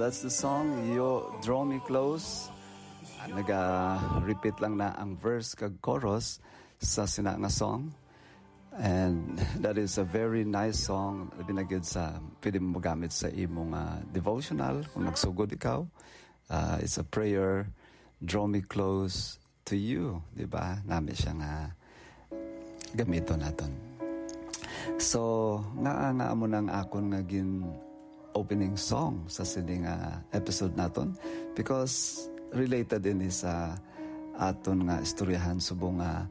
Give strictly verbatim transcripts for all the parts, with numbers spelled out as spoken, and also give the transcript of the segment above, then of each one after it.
That's the song, You Draw Me Close. Naga-repeat lang na ang verse kag chorus sa sina nga song. And that is a very nice song. Labi na gyud sa pwede mo magamit sa imong, ah, devotional kung nagsugod ikaw. Ah, it's a prayer. Draw me close to you, di ba? Nami siya nga gamiton naton. So, nga, nga amo nang akon nga gin opening song sa sini nga episode naton, because related ini sa aton nga istoryahan subong nga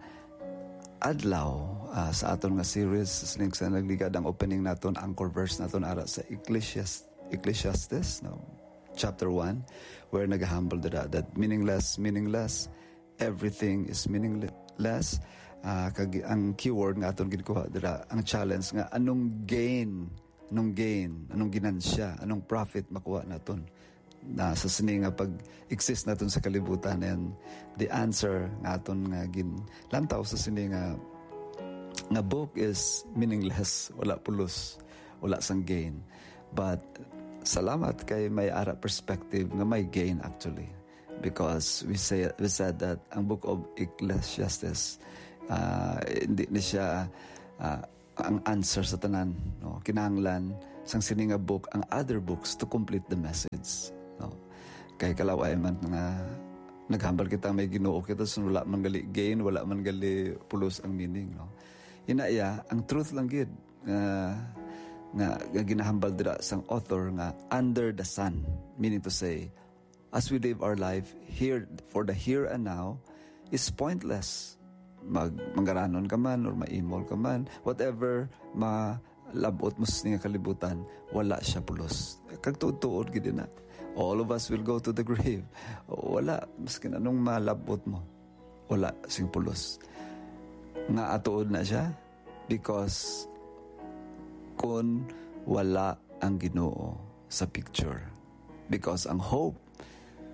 adlaw, ah, sa aton nga series sa sining sa nagligad. Ang opening naton, anchor verse naton ara sa Ecclesiastes, Ecclesiastes, no? Chapter one, where nagahambal dira that meaningless, meaningless, everything is meaningless. Ah, kag ang keyword nga aton ginkuha dira, ang challenge nga anong gain, anong gain, anong ginansya, anong profit makuha naton na sa sini nga pag-exist naton sa kalibutan. And the answer nga aton nga ginlantaw sa sini nga, nga book is meaningless, wala pulos, wala sang gain. But salamat kay may ara perspective nga may gain actually. Because we say, we said that ang book of Ecclesiastes, ah, hindi ni siya, ah, ang answer sa tanan, no? Kinahanglan sang sini nga book ang other books to complete the message, no? Kay kalaway man nga naghambal kita may Ginoo kita, so wala man gali gain, wala man gali pulos ang meaning, no? Ina iya, ang truth lang gid nga, nga, nga ginahambal dira sang author nga under the sun, meaning to say, as we live our life here for the here and now, is pointless. Mag-, manggaranon ka man or maimol ka man, whatever malab-ot mo sa nga kalibutan, wala siya pulos. Kag tuod-tuod gid na. All of us will go to the grave. Wala, maskin anong malab-ot mo, wala sing pulos. Nga atuod na siya, because kun wala ang Ginoo sa picture. Because ang hope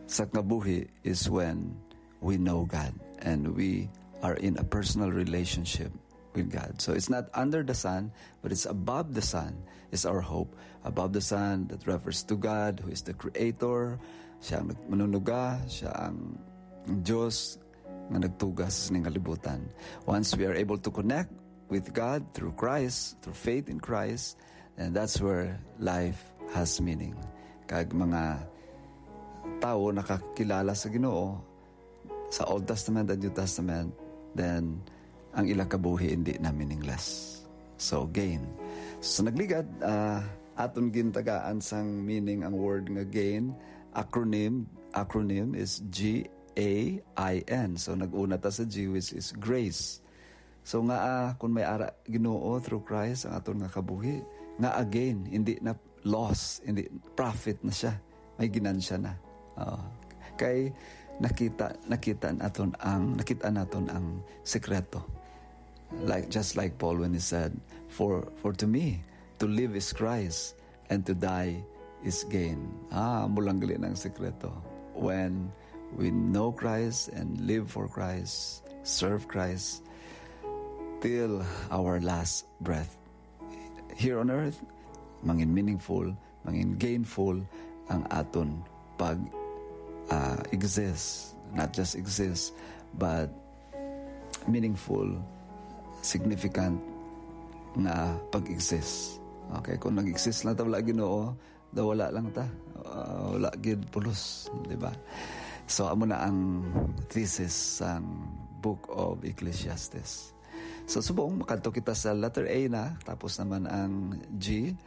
sa kabuhi is when we know God and we are in a personal relationship with God. So it's not under the sun, but it's above the sun is our hope. Above the sun, that refers to God, who is the creator. Siya ang nag-, manunuga, siya ang Diyos nga nagtuga sa sining kalibutan. Once we are able to connect with God through Christ, through faith in Christ, and that's where life has meaning. Kag mga tawo nakakilala sa Ginoo sa Old Testament and New Testament, then ang ila kabuhi hindi na meaningless. So, gain. So, nagligad, ah, aton gintagaan sang meaning ang word nga gain. Acronym, acronym is G A I N. So, nag-una ta sa G, which is grace. So, nga, ah, kung may ara Ginoo through Christ ang aton nga kabuhi, nga again, hindi na loss, hindi, profit na siya. May ginansya na. Oo. Kay nakita, nakita naton ang, nakita naton ang sekreto. Like, just like Paul when he said, "For, for to me, to live is Christ, and to die is gain." Ah, amo lang gali ang sekreto. When we know Christ and live for Christ, serve Christ, till our last breath here on earth, mangin meaningful, mangin gainful ang aton pag, ah, exist. Not just exist, but meaningful, significant nga pag-exist. Okay, kung nag-exist lang ta, wala Ginoo, daw wala lang ta. Ah, wala gid pulos, di ba? So, amo na ang thesis sang Book of Ecclesiastes. So, subong, makadto kita sa letter A na, tapos naman ang G,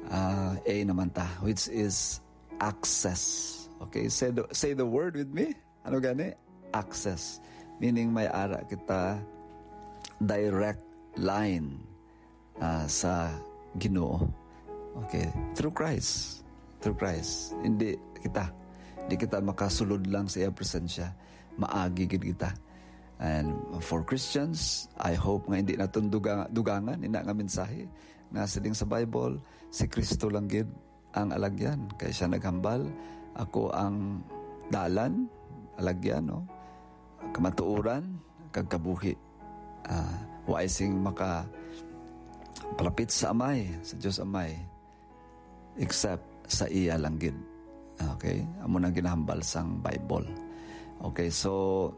ah, A naman ta, which is access. Okay, say the, say the word with me. Ano gani? Access. Meaning, may ara kita direct line, ah, sa Ginoo. Okay, through Christ. Through Christ. Hindi kita. Hindi kita makasulod lang sa iya presensya. Maagi gid kita. And for Christians, I hope nga hindi naton duga-, dugangan ina nga mensahe nga siling sa Bible, si Kristo lang gid ang alagyan. Kay siya naghambal, "Ako ang dalan, alagyan, no? Kamatuoran, kag kabuhi." Ah, wa sing maka palapit sa Amay, sa Dios Amay, except sa iya lang gid. Okay? Amo nang ginahambal sang Bible. Okay, so,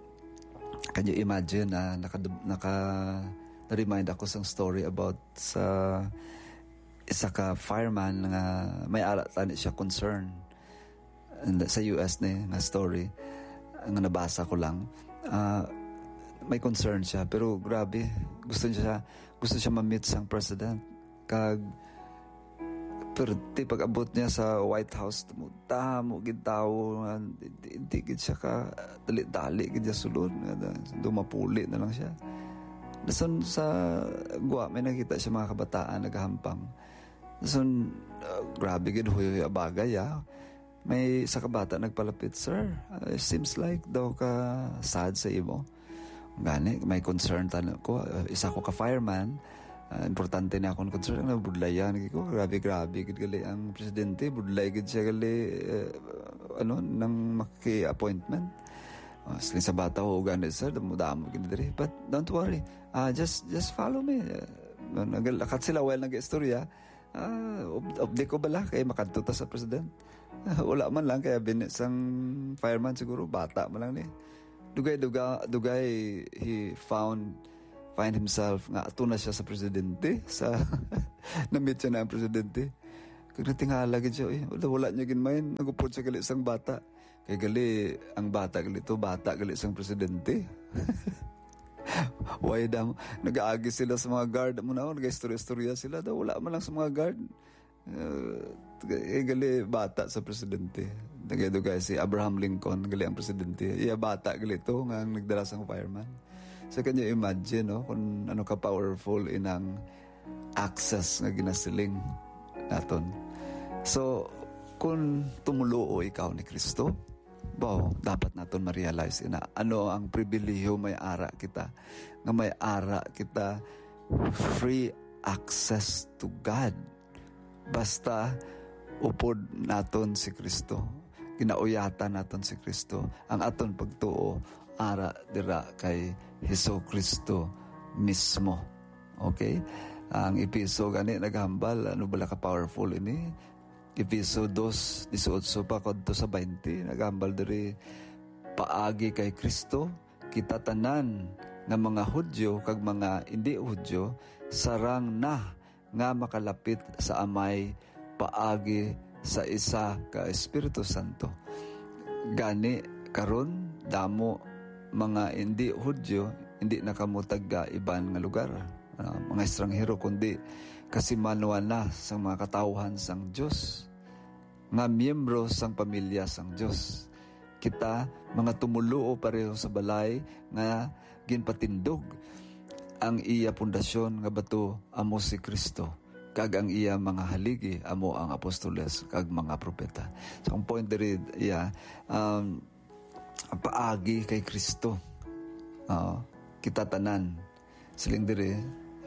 can you imagine, ah, naka-, naka-, na-remind ako sang story about sa isa ka fireman nga may ara tani siya concern. And sa U S ni nga story, nga nabasa ko lang. Ah, may concern siya, pero grabe, gusto niya, gusto siya ma-meet sang president. Kag, pero ti pag-abot niya sa White House, damo, damo gid tawo nga, di, di, di gid siya ka, dali-dali gid siya sulod, nga da-, dumapuli na lang siya. Dason sa gwa, may nakita siya mga kabataan nagahampang. Dason, ah, grabe gid, huyo-huyo bagay, ah. May isa ka bata nagpalapit, "Sir, ah, seems like daw ka sad sa imo." Gani, may concern tani ko. Ah, isa ko ka fireman. Ah, importante ni akong concern. Ano, budlayan, lagi ko. Grabe, grabe, gid gali ang presidente. Budlay, gid siya gali, eh, ano, nang maki-appointment. Ah, siling sa bata, "Oo, gani, sir. Damo-damo, gid diri. But don't worry. Ah, just, just follow me." Ah, naglakat sila while nag-istorya. Ah, ob-, obdi ko bala kay makadto ta sa president. Ah, wala man lang, kaya bini sang fireman siguro, bata man lang ni. Dugay, duga-, dugay, he found, find himself nga ato na siya sa presidente, sa, na-meet siya na ang presidente. Kag natingala gid siya, eh, wala, wala niya ginmain, nagupod siya gali sang bata. Kay gali, ang bata gali to, bata gali sang presidente. Why dam-, nag-aagi sila sa mga guard mo na, nag-istorya-istorya sila daw, wala man lang sa mga guard. Uh, eh, gali bata sa presidente. Nagay-dugay si Abraham Lincoln, gali ang presidente. Iya bata gali to nga ang nagdala sang fireman. So, can you imagine, no, kung ano ka powerful inang access nga ginasiling naton? So, kung tumuluo ikaw ni Kristo, baw, dapat naton ma-realize ina, ano ang pribilehiyo may ara kita, nga may ara kita free access to God. Basta upod naton si Kristo, ginauyatan naton si Kristo, ang aton pagtuo ara dira kay Jesu-Cristo mismo. Okay? Ang Efeso gani naghambal, ano bala ka powerful ini? Efeso dos dieciocho pa kudto sa twenty, naghambal diri, "Paagi kay Kristo, kita tanan nga mga Hudiyo kag mga indi Hudiyo sarang na nga makalapit sa Amay paagi sa isa ka Espiritu Santo." Gani, karon, damo mga indi Hudiyo, indi na kamo taga iban nga lugar, ah, mga estranghero, kundi kasimanwa na sang mga katawuhan sang Dios, nga miyembro sang pamilya sang Dios. Kita, mga tumuluo pareho sa balay nga ginpatindog, ang iya pundasyon nga bato amo si Kristo, kag ang iya mga haligi amo ang apostoles kag mga propeta. So, ang point diri, iya, um, paagi kay Kristo. Ah, kita tanan, siling diri,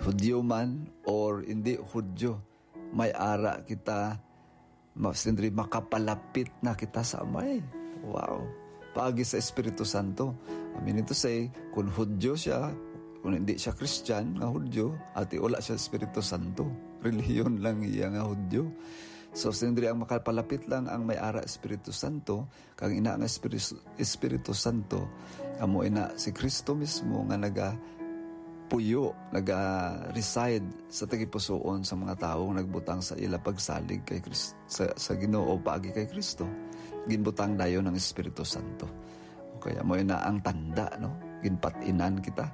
Hudiyo man or indi Hudiyo, may ara kita, ma-, siling diri, makapalapit na kita sa Amay. Wow. Paagi sa Espiritu Santo. I mean to say, kung Hudiyo siya, kung hindi siya Christian nga Hudiyo, ati wala siya Espiritu Santo. Relihiyon lang iya nga Hudiyo. So, siling diri, ang makapalapit lang ang may ara Espiritu Santo, kag ina nga Espiritu, Espiritu Santo, amo ina si Kristo mismo nga nagapuyo, naga-reside sa tagipusoon sa mga tawo nga nagbutang sa ila pagsalig kay Kris-, sa, sa Ginoo paagi kay Kristo. Ginbutang dayon ang Espiritu Santo. Okay, amo ina ang tanda, no? Ginpat-inan kita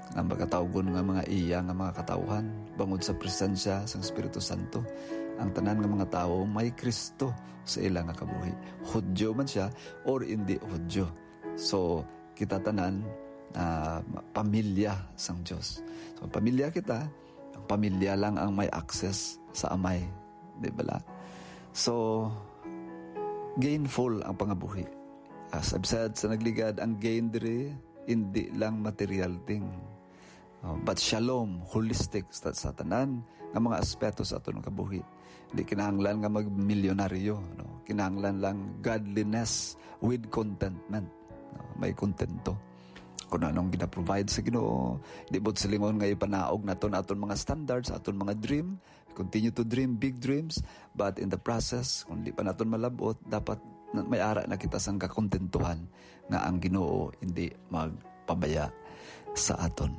nga pagkatawgon nga mga iya nga mga katawhan bangod sa presensya sang Espiritu Santo. Ang tanan nga mga tawo may Kristo sa ila nga kabuhi, Hudiyo man siya or indi Hudiyo. So, kita tanan, ah, pamilya sang Dios. So, pamilya kita, ang pamilya lang ang may access sa Amay, di bala? So, gainful ang pangabuhi. As I've said sa nagligad, ang gain diri indi lang material thing. Oh, but shalom, holistic sa, sa tanan nga mga aspeto sa aton kabuhi. Di kinahanglan nga magmilyonaryo, no? Kinahanglan lang godliness with contentment, no? May kontento. Kung anong gina-provide sa Ginoo, di buot silingon nga ipanaog naton aton mga standards, aton mga dream, continue to dream big dreams, but in the process, kung di pa naton malab-ot, dapat na may ara na kita sang kakontentuhan nga ang Ginoo hindi magpabaya sa aton.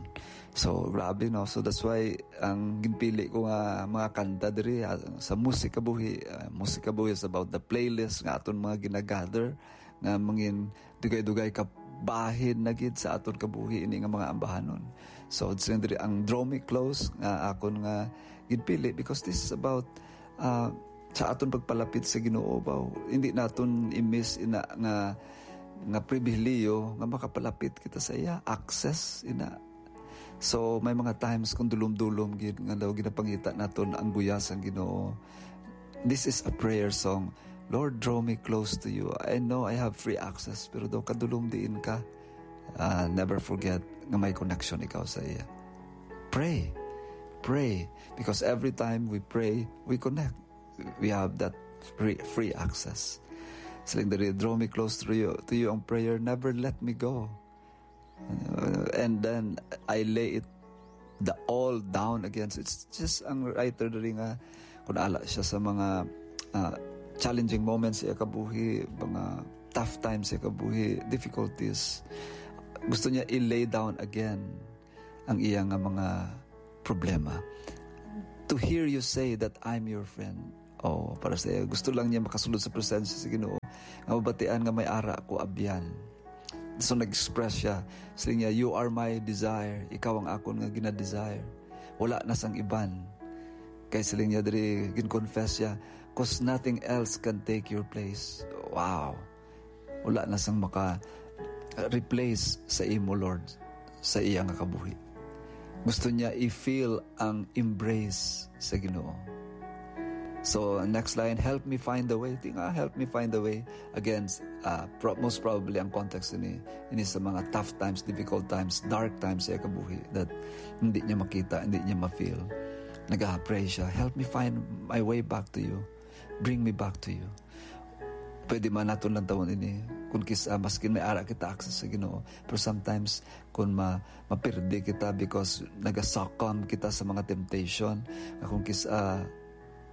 So, grabe, no? So, that's why ang ginpili ko nga mga kanta diri, ah, sa Musik Kabuhi, ah, Musik Kabuhi is about the playlist nga aton mga ginagather, nga mangin dugay-dugay ka bahin na gid sa aton kabuhi ini nga mga ambahanon. So, it's diri ang Draw Me Close nga akon nga ginpili because this is about, ah, sa aton pagpalapit sa Ginoo, baw. Hindi naton i-miss ina nga, nga pribilehiyo nga makapalapit kita sa iya, access ina. So, may mga times kung dulom-dulom gid nga daw ginapangita naton ang guyas sang Ginoo. This is a prayer song. "Lord, draw me close to you. I know I have free access, pero daw kadulom diin ka." Ah, never forget nga may connection ikaw sa iya. Pray. Pray. Because every time we pray, we connect. We have that free, free access. Siling diri, "Draw me close to you, to you ang prayer, never let me go." Uh, and then I lay it the all down again. So it's just ang writer diri nga kung ala siya sa mga, ah, challenging moments sa iya kabuhi, mga tough times sa iya kabuhi, difficulties, gusto niya i-lay down again ang iya nga mga problema. To hear you say that I'm your friend. Oh, para sa iya, gusto lang niya makasulod sa presensya sa Ginoo nga mabatian nga may ara ko abyan. So nag-express siya, siling niya, "You are my desire. Ikaw ang akon nga gina-desire. Wala na sang iban." Kay siling niya diri, gin-confess siya, "'Cause nothing else can take your place." Wow. Wala na sang maka-replace sa imo, Lord, sa iya nga kabuhi. Gusto niya i-feel ang embrace sa Ginoo. So, next line, "Help me find the way." Di nga, "Help me find the way." Again, uh, pro-, most probably ang context ini, ini sa mga tough times, difficult times, dark times sa iya kabuhi that hindi niya makita, hindi niya ma-feel. Nag-pray siya, "Help me find my way back to you. Bring me back to you." Pwede man naton lang tawon ini. Kung kis-, ah, maskin may ara kita access sa Ginoo, pero sometimes kung ma-, mapirdi kita because naga-succumb kita sa mga temptation, nga kung kis-, ah,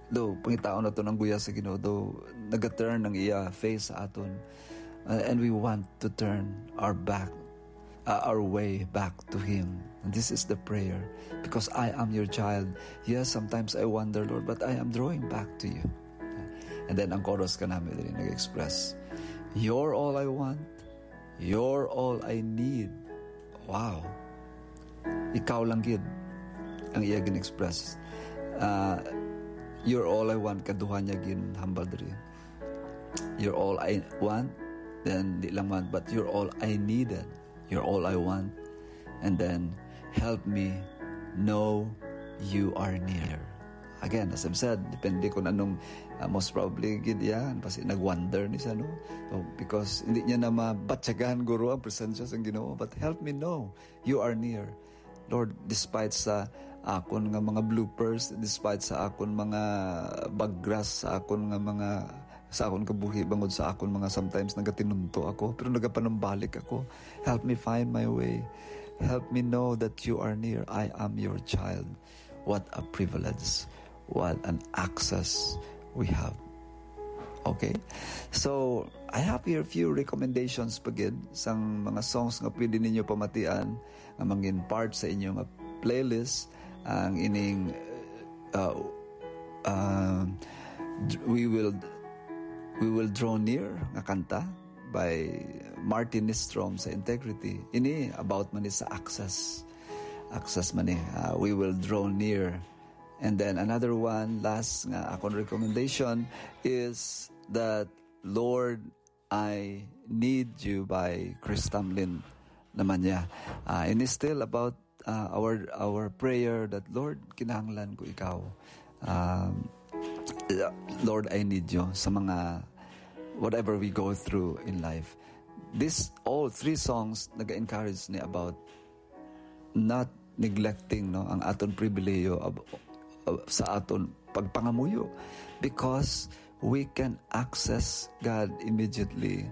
do, pangitaon naton ang guya sa Ginoo, do, naga-turn ang iya face sa aton. Uh, and we want to turn our back, uh, our way back to Him. And this is the prayer. "Because I am your child. Yes, sometimes I wander, Lord, but I am drawing back to you." And then ang chorus ka namin diri nag-express, "You're all I want. You're all I need." Wow. Ikaw lang gid ang iya gin-express. Ah, "You're all I want," kaduha niya ginhambal diri. "You're all I want," then di lang man, but "You're all I needed. You're all I want." And then, "Help me know you are near." Again, as I've said, depende kung anong, ah, most probably gid yan, kasi nag-wonder ni siya, no? So, because hindi niya na mabatyagan guro ang presensya sang Ginoo, but help me know you are near. Lord, despite sa akon nga mga bloopers, despite sa akon mga bagras, sa akon nga mga, sa akon kabuhi, bangod sa akon mga sometimes nagatinunto ako, pero nagapanumbalik ako. Help me find my way. Help me know that you are near. I am your child. What a privilege. What an access we have. Okay? So, I have here a few recommendations pa gid sang mga songs nga pwede ninyo pamatian nga mangin part sa inyo nga playlist. Ang ining, uh, uh, We Will, We Will Draw Near nga kanta by Martin Nystrom sa Integrity. Ini about man ni sa access. Access man ni, uh, We Will Draw Near. And then another one, last nga akon recommendation is that Lord, I Need You by Chris Tomlin naman niya. Ah, and it's still about, ah, our, our prayer that, "Lord, kinahanglan ko ikaw. Um, Lord, I need you," sa mga whatever we go through in life. This, all three songs, nag-encourage ni about not neglecting, no, ang aton pribilehiyo ab-, ab-, sa aton pagpangamuyo, because we can access God immediately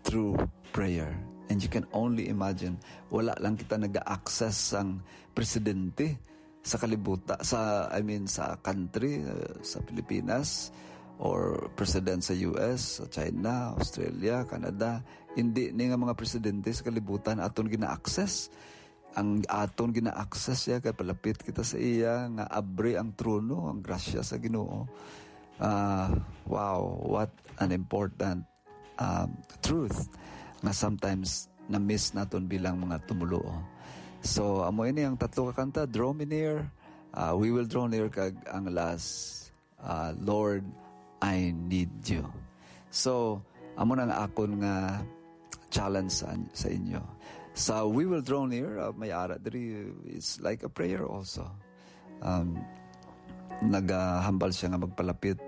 through prayer. And you can only imagine, wala lang kita naga-access sang presidente sa kalibuta, sa, I mean, sa country, uh, sa Pilipinas, or president sa U S, sa China, Australia, Canada, hindi ni nga mga presidente sa kalibutan aton gina-access. Ang aton gina-access siya kay palapit kita sa iya, nga abri ang trono, ang grasya sa Ginoo. Ah, wow, what an important, um, truth nga sometimes na-miss naton bilang mga tumuluo. So, amo ini ang tatlo ka kanta, Draw Me Near, ah, We Will Draw Near, kag ang last, ah, Lord, I Need You. So, amo na ang akon nga challenge sa, sa inyo. Sa We Will Draw Near, ah, may ara diri, it's like a prayer also. Um, nagahambal siya nga magpalapit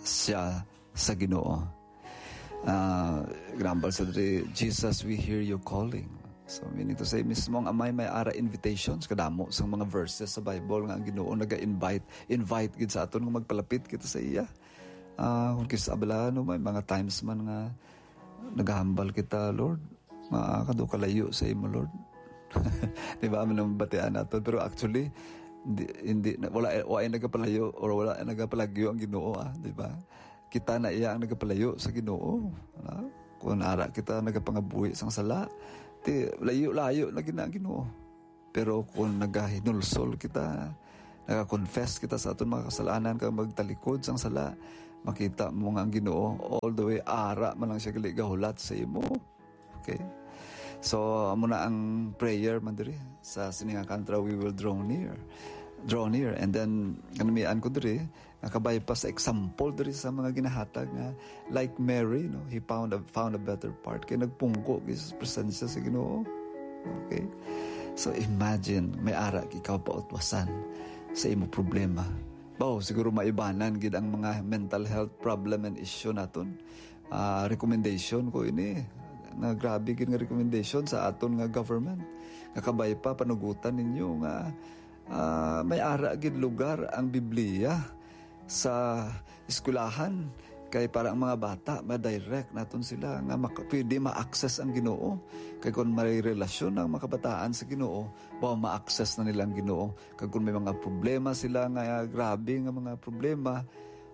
siya sa Ginoo. Ah, example sa diri, "Jesus, we hear you calling." So, meaning to say, mismo ang Amay may ara invitations, kadamo sang mga verses sa Bible nga ang Ginoo naga-invite, invite gid sa aton nga magpalapit kita sa iya. Ah, kung kisa bala, no, may mga times man nga nagahambal kita, "Lord, makakado kalayo sa imo, Lord." Di ba, amo nang batian naton? Pero actually, hindi, hindi na, wala, wala ay nagapalayo or wala ay nagapalagyo ang Ginoo, ah, di ba? Kita na iya ang nagapalayo sa Ginoo, ah. Kung ara kita nagapangabuhi sang sala, ti, layo-layo na gid na ang Ginoo. Pero kung nagahinulsol kita, nagakonfess kita sa aton mga kasalanan kag magtalikod sang sala, makita mo nga ang Ginoo all the way ara man lang siya gali gahulat sa imo. Okay? So, amo na ang prayer man diri sa sini nga kantra, "We will draw near." Draw near. And then, kanamian ko diri, nakabay pa sa example diri sa mga ginahatag nga, like Mary, no? He found a, found a better part. Kay nagpungko gid sa presensya sa Ginoo. Okay? So, imagine, may ara ikaw pautwasan sa imo problema. Baw, siguro maibanan gid ang mga mental health problem and issue naton. Ah, recommendation ko ini. Nga grabe gid nga recommendation sa aton nga government. Nga kabay pa, panugutan ninyo nga, ah, may ara gid lugar ang Biblia sa eskwelahan. Kay para ang mga bata, ma-direct naton sila nga maka-, pwede ma-access ang Ginoo. Kay kung may relasyon ang mga kabataan sa Ginoo, baw, ma-access na nila ang Ginoo. Kag kung may mga problema sila nga grabe nga mga problema,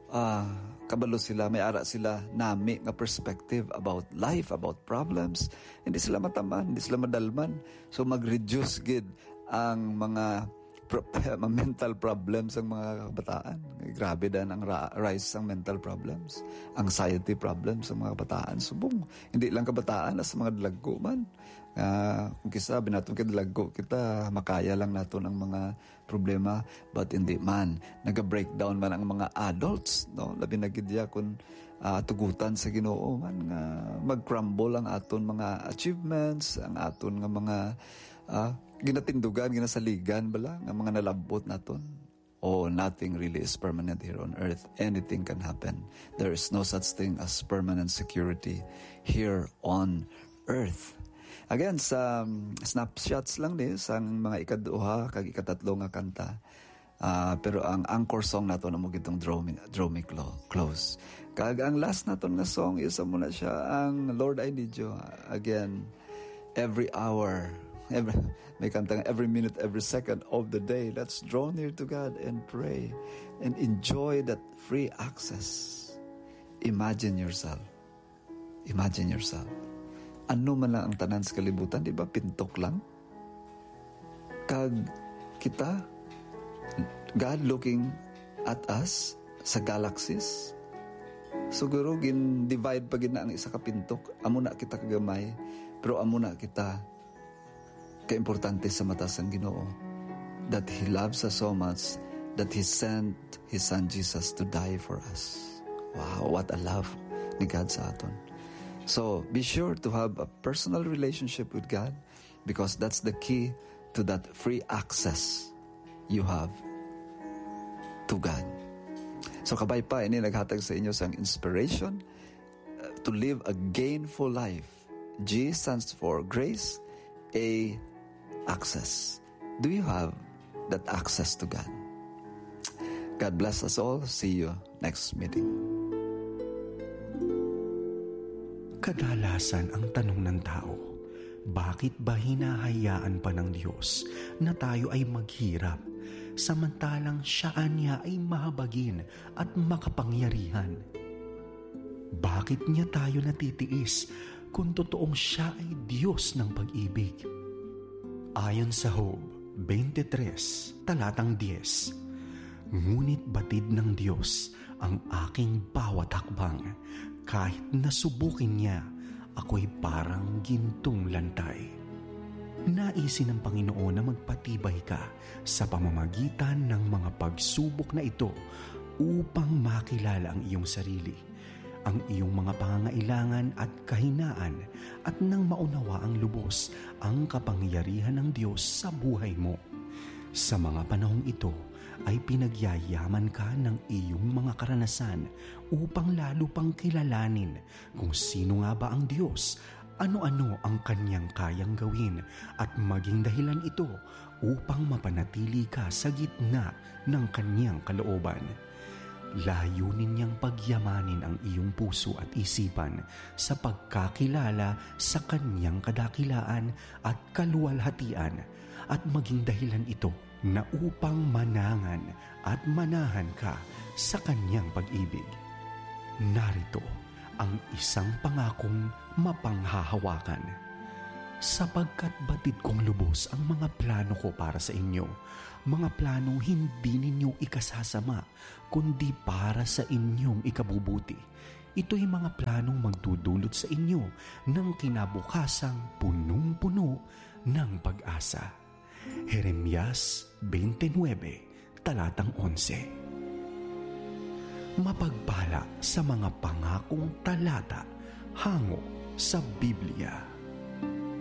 ah, kabalo sila, may ara sila nami nga perspective about life, about problems. Hindi sila mataman, hindi sila madalman. So, mag-reduce gid ang mga pro-, mga mental problems sang mga kabataan. Grabe dan ang ra-, rise sang mental problems, anxiety problems sa mga kabataan. Subong, hindi lang kabataan, as mga dalagko man. Ah, kung kisa, binaton kay dalagko kita, makaya lang naton ang mga problema, but hindi man. Naga-breakdown man ang mga adults, no? Labi na gid ya kung, ah, tugutan sa Ginoo man nga mag-crumble ang aton mga achievements, ang aton nga mga, ah, ginatindugan, ginasaligan bala, nga mga nalabot naton. Oh, nothing really is permanent here on earth. Anything can happen. There is no such thing as permanent security here on earth. Again, sa, um, snapshots lang ni sa mga ikaduha kag ikatatlo nga kanta. Ah, pero ang anchor song nato na mo gitong Draw Me, Draw Me Clo-, Close. Kag ang last naton nga song is amo na siya ang Lord, I Need You. Again, every hour, every, may kanta nga, "Every minute, every second of the day, let's draw near to God and pray and enjoy that free access." Imagine yourself. Imagine yourself. Ano man lang ang tanan sa kalibutan, di ba? Pintok lang. Kag kita, God looking at us sa galaxies. Siguro gin-divide pa gid na ang isa ka pintok. Amo na kita kagamay, pero amo na kita kaimportante sa mata sang Ginoo, that He loves us so much that He sent His Son Jesus to die for us. Wow, what a love ni God sa aton. So, be sure to have a personal relationship with God, because that's the key to that free access you have to God. So, kabay pa, ini naghatag sa inyo sang inspiration, uh, to live a gainful life. G stands for grace, A, access. Do you have that access to God? God bless us all. See you next meeting. Kadalasan ang tanong ng tao, "Bakit ba hinahayaan pa ng Diyos na tayo ay maghirap samantalang siya anya ay mahabagin at makapangyarihan. Bakit niya tayo natitiis kung totoong siya ay Diyos ng pag-ibig? Ayon sa Job twenty-three, talatang diyes, "Ngunit batid ng Diyos ang aking bawat hakbang, kahit nasubukin niya ako'y parang gintong lantay." Nais ng Panginoon na magpatibay ka sa pamamagitan ng mga pagsubok na ito upang makilala ang iyong sarili, ang iyong mga pangangailangan at kahinaan, at nang maunawa ang lubos ang kapangyarihan ng Diyos sa buhay mo. Sa mga panahong ito ay pinagyayaman ka ng iyong mga karanasan upang lalo pang kilalanin kung sino nga ba ang Diyos, ano-ano ang kanyang kayang gawin, at maging dahilan ito upang mapanatili ka sa gitna ng kanyang kalooban. Layunin niyang pagyamanin ang iyong puso at isipan sa pagkakilala sa kanyang kadakilaan at kaluwalhatian, at maging dahilan ito na upang manangan at manahan ka sa kanyang pag-ibig. Narito ang isang pangakong mapanghahawakan. "Sapagkat batid kong lubos ang mga plano ko para sa inyo, mga planong hindi ninyo ikasasama, kundi para sa inyong ikabubuti. Ito'y mga planong magdudulot sa inyo ng kinabukasang punong-puno ng pag-asa." Jeremias twenty-nine, talatang onse. Mapagpala sa mga pangakong talata hango sa Biblia.